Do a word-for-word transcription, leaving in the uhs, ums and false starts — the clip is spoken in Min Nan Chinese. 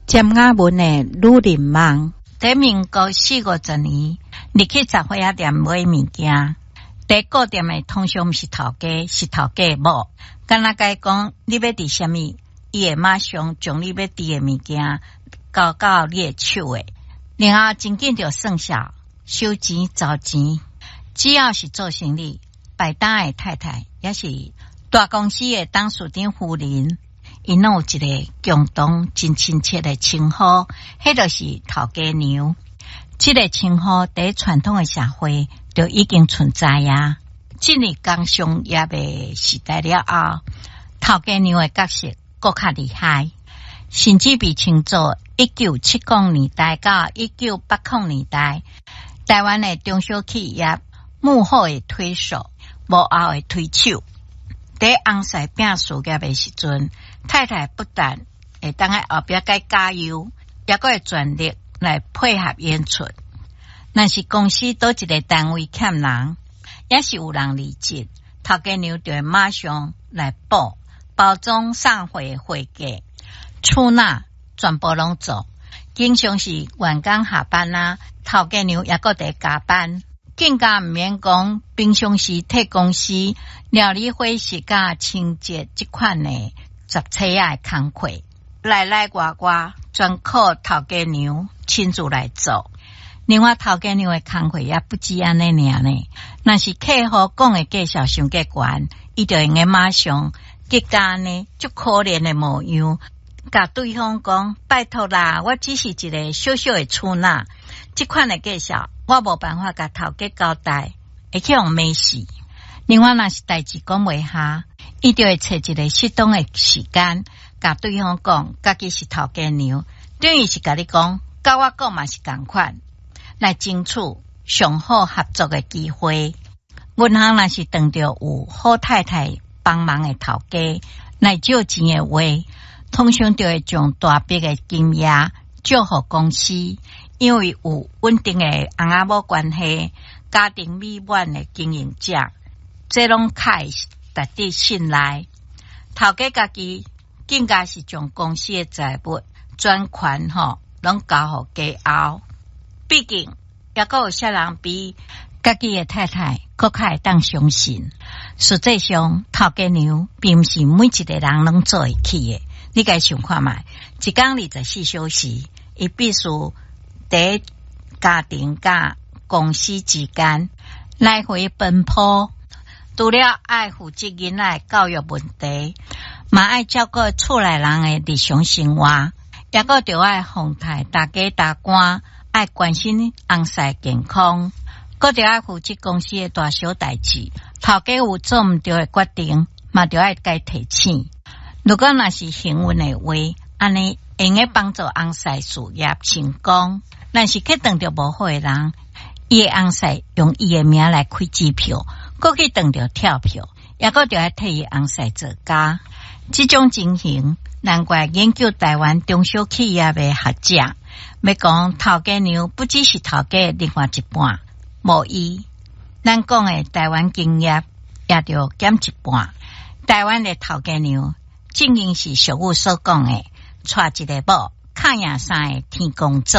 尖仔文的女人夢。佇民國四五十年，入去雜貨仔店買物件，佇顧店的通常毋是頭家，是頭家某。敢若共伊講你欲佇啥物，伊會馬上將你欲佇的物件交到你的手的。然後真緊就算數，收錢找錢。只要是做生意，擺檔的太太，抑是大公司的董事長夫人，𪜶攏有一个共同真親切的稱呼，彼就是頭家娘。這个稱呼佇傳統的社會就已經存在啊。進入工商業的時代了後，頭家娘的角色閣較厲害，甚至被稱作一九七零年代到一九八零年代，台灣的中小企業幕後的推手、幕後的推手。佇翁婿拚事業的時陣，太太不但會當佇後壁共加油，抑閣會全力來配合演出。若是公司佗一个單位欠人，抑是有人離職，頭家娘就會馬上來補包裝送貨會計、出納全部攏做。經常是員工下班啊，頭家娘抑閣佇加班。更加毋免講，平常時替公司料理伙食佮清潔這款的雜差仔的工課，內內外外全靠頭家娘親自來做。另外，頭家娘的工課也不止按呢爾呢。若是客戶講的價數傷過懸，伊就會用馬上激甲按呢足可憐的模樣，共對方講：拜託啦，我只是一个小小的出納，這款的價數我無辦法共頭家交代，會去予罵死。另外，若是代誌講袂下，伊就會揣一个適當的時間，共對方講，家己是頭家娘，等於是共你講，佮我講嘛是仝款，來爭取上好合作的機會。銀行若是碰著有好太太幫忙的頭家來借錢的話，通常就會將大筆的金額借予公司，因為有穩定的翁仔某關係，家庭美滿的經營者，這攏較會值得信賴。頭家家己更加是將公司的財務專權吼，攏交予家後。畢竟，抑閣有啥人比家己的太太閣較會當相信？實際上，頭家娘並毋是每一个人攏做會起的。你共想看覓，一工二十四小時，伊必須佇家庭佮公司之間來回奔波，除了愛負責囡仔的教育問題，嘛愛照顧厝內人的日常生活，抑閣著愛奉替大家大官，愛關心翁婿健康，閣著愛負責公司的大小代誌。頭家有做毋著的決定，嘛著愛共提醒。如果若是幸運的話，按呢會用得幫助翁婿事業成功。若是去碰著無好的人，伊的翁婿用伊的名來開支票，閣去碰著跳票，抑閣著愛替伊翁婿做工。這種情形，難怪研究台灣中小企業的學者，欲講頭家娘不只是頭家另外一半，無伊，咱講的台灣經驗也著減一半。台灣的頭家娘，正應是俗語所講的，娶一个某，敲贏三个天公祖。